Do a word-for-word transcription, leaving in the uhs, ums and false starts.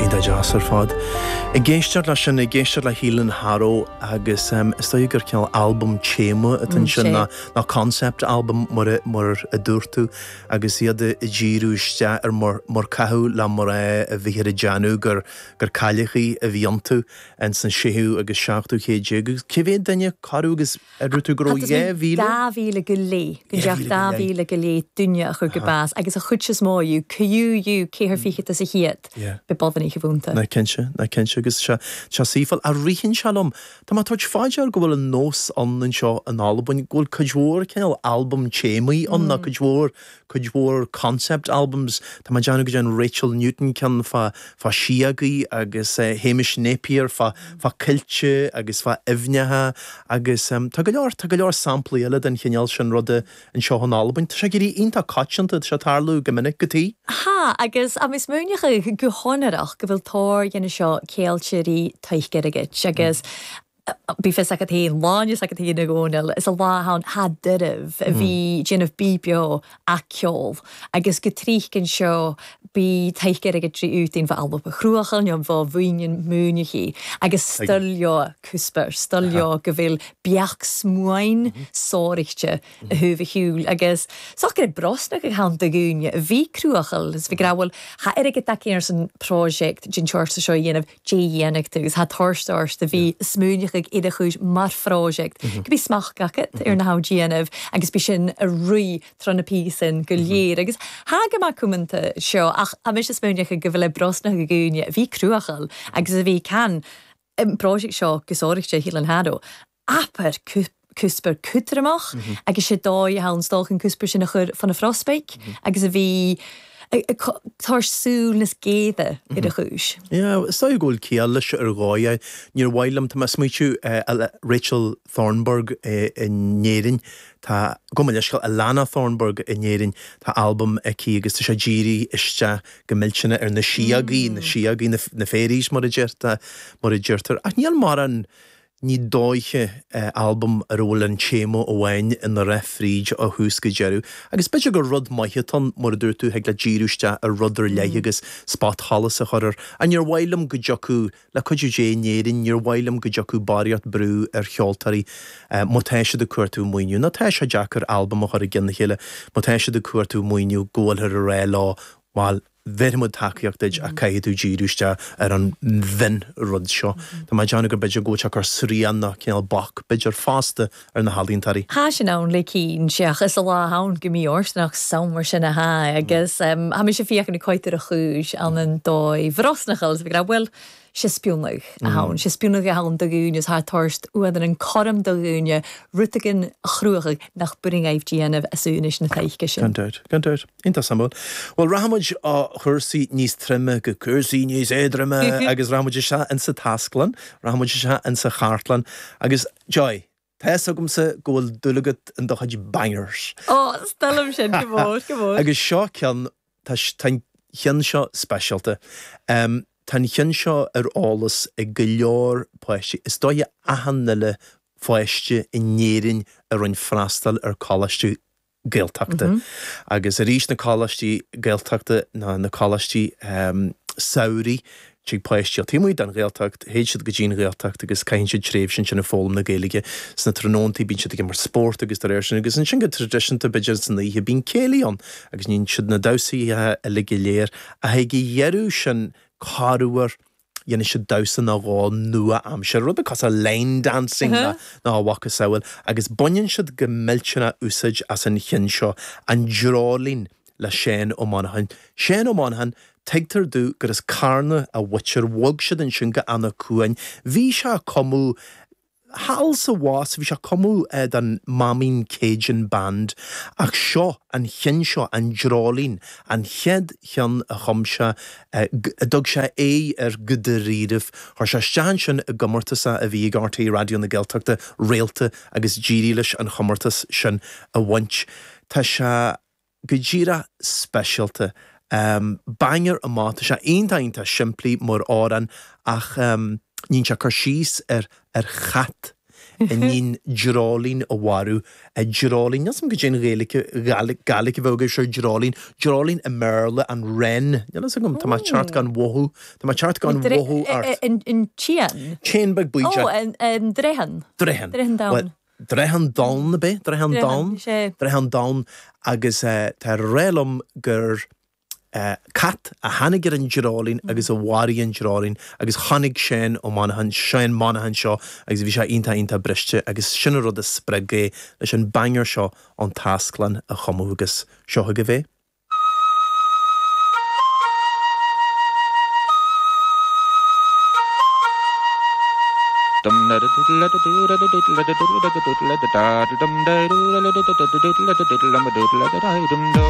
Iontach deas ar fad. Ag éisteacht leis sin ag éisteacht le Hílan Harrow agus um, is dóigh gur cineál albam téama atá sin ná ná concept album mar a- mar a dúirt tú agus iad ag díriú isteach ar mar mar caitheadh le mná a bhí ar a déanamh gur gur cailleachaí a bhí iontu in san séú agus seachtú céad déag agus cé mhéad duine corradh agus a dúirt tú go raibh dhá mhíle? Dá mhíle go leith go Dhá dteach mhíle dá go leith. mhíle go leith duine a chur go bás agus a chuid is mó dóibh cuiú ceathair fichead is a hiad Yeah. be bodaní bhúnta. Na cinnte na cinnte agus sé sé saoifil a rihann sé liom Tá má tuairt fáidear go bhfuil an nós an anseo in Albain go bhfuil cuid mhór cineál album téamaí ann na cuid mhór cuid mhór concept albums Tá má déanamh go dtéann Rachel Newton ceann fá fá síogaí agus uh, Hamish Napier fá fá coillte agus fá aibhneacha agus um, tá go leor tá go leor samplaí eile den chineál sin ruda anseo in Albain Tá sé ag éirí iontach coitianta sé tarlú go minic go tí. Ha agus a mis múnecha go honarach go bhfuil tóir dhéana seo céiltirí tuigeirgit agus Bí fis a héon láine a héon na gcóil is a lá ha duirh a bhí déanamh bíbeo a ceol agus go trícin seo bí taiiceir ag trí útín bh alp a chruachan an bh bhuiine múnechi agus stolio cúsper, stolio go bhfuil beach smuain sórichte a thuúil agus so go brosna go han de gúne bhí cruachal is bhí grahfuil ha ar go ar san project gin seo seo dhéanamh dé dhéanach agus ha toirt a bhí smúneach ag iad chuis mar project go bí smach gacet ar na ha déanamh agus bí sin a ri tro na pí sin go léir agus ha go maith cumanta seo ach a mis smúneach go bhfuil le brosna go gúne bhí cruachal agus a bhí can project seo gosóirichte hí an hado. Aper cúsper cútramach agus sé dói ha an stolchan cúsper sin a chur fan a frosbeik agus a bhí tar súl nas géada i a chúis. Ja, is dóigh go bhfuil ciall leis ar gáide níor bhhailm tá smuoú Rachel Thornburg in Éirinn tá go leiscail Alana Thornburg in Éirinn tá album aici agus tá sé dírithe isteach go millteanach ar na síogaí na síogaí na fairies mar a deirtear mar a deirtear ach níl mar an ní dóiche album ar bhfuil an téama amháin ina rith fríd ó thús go deireadh. Agus b'fhéidir gur rud maith atá mar a dúirt tú ag le díriú ar rud ar leith agus spotsholas a chur air. An níor mhaith liom go dtiocfadh le cuidiú Dé in Éirinn, níor mhaith liom go dtiocfadh barraíocht brú ar cheoltóirí má tá siad ag cuartú maoiniú. Ná tá sé deacair album a chur i gcinn na chéile, má tá siad ag cuartú maoiniú go bhfuilthear ag rá leo bhuel bheimid tacaíocht duit a caithfidh tú díriú isteach ar an mhion rud seo. Tá má déanamh gur b'fhéidir go bhfuil sé cur srian ná cineál bac b'fhéidir fosta ar na healaíontóirí. Tá sin ann le cín seach is a lá ann go mí ornach samar sin a ha agus ha mi sé fiach na coitar a chúis an an dói bhrosnachil bh bhfuil sé spiúnach a hán, sé spiúnach a hán do gúne ha toirst uan an chorm do gúne rutagan chruach nach buing aibh déanamh asúnis na taiice sin. Gan dabht, gan dabht, iontach suimiúil. Well rachaimid ó chúrsaí níos troime go cúrsaí níos éadroime agus rachaimid isteach insa taisclann, rachaimid isteach insa chartlann agus Joy, Tá agamsa go bhfuil dúil agat in do chuid bangers. Ó stelm sin go mór go mór. Agus seo ceann tá ceann seo speisialta. Um, Tá an cheann seo ar eolas ag go leor páistí. Is dóigh achan uile pháiste in Éirinn a rinne freastal ar choláiste Gaeltachta. Mm -hmm. Agus arís na coláistí Gaeltachta ná na coláistí um, samhraidh tig páistí taobh amuigh den Ghaeltacht, théid siad go dtí an Ghaeltacht agus caitheann siad tréimhse sin ag foghlaim na Gaeilge sna tráthnóntaí bíonn siad ag imirt spórt agus de réir sin agus ansin go traidisiúnta b'fhéidir san oíche bíonn céilí ann agus níonn siad na damhsaí uilig go léir a ag a dheireadh sin corruair dhéanann siad damhsa nó dhó nua-aimseartha, rud cosúil line dancing uh -huh. ná a mhacasamhail, agus baineann siad go millteanach úsáid as an cheann seo an dreoilín le Seán Ó Monacháin. Seán Ó Monacháin, tuigtear domh gur as Carna a mhuintir bhog siad ansin go Eanach Cuain. Bhí sé ag cumadh thall sa bhás bhí sé ag cumadh don Mameen Cajun Band ach seo an cheann seo an dreoilín an chéad cheann a chum sé a dtug sé é ar go dáiríribh chuir sé isteach ansin i gcomórtas a bhí ag R T Raidió na Gaeltachta réalta agus d'éirigh leis an chomórtas sin a bhaint. Tá sé go díreach speisialta. Um, banger amach tá sé iontach iontach simplí mar amhrán ach um, níonn sé cur síos ar ar chat i ndiaidh dreoilín a mharú. Dreoilín, níl 's agam goidé an Ghaeilge, Gaeilge a bheadh air seo, dreoilín, dreoilín i mBéarla, an wren, níl 'fhios agam, tá mé ceart gan mhothú, tá mé ceart gan mhothú ort. An t-éan? T-éan beag buí. Ó, an dreithin. Dreithin. Dreithin donn. Dreithin donn ab é? Dreithin donn? Dreithin donn agus tá a rá liom gur cat a tháinig ar an dreoilín agus a mharaigh an dreoilín agus chonaic Seán Ó Monacháin, Seán Monaghan seo agus bhí sé iontach iontach briste agus sin an rud a spreag é leis an banger seo An tAsclann a chumadh agus seo chugaibh é.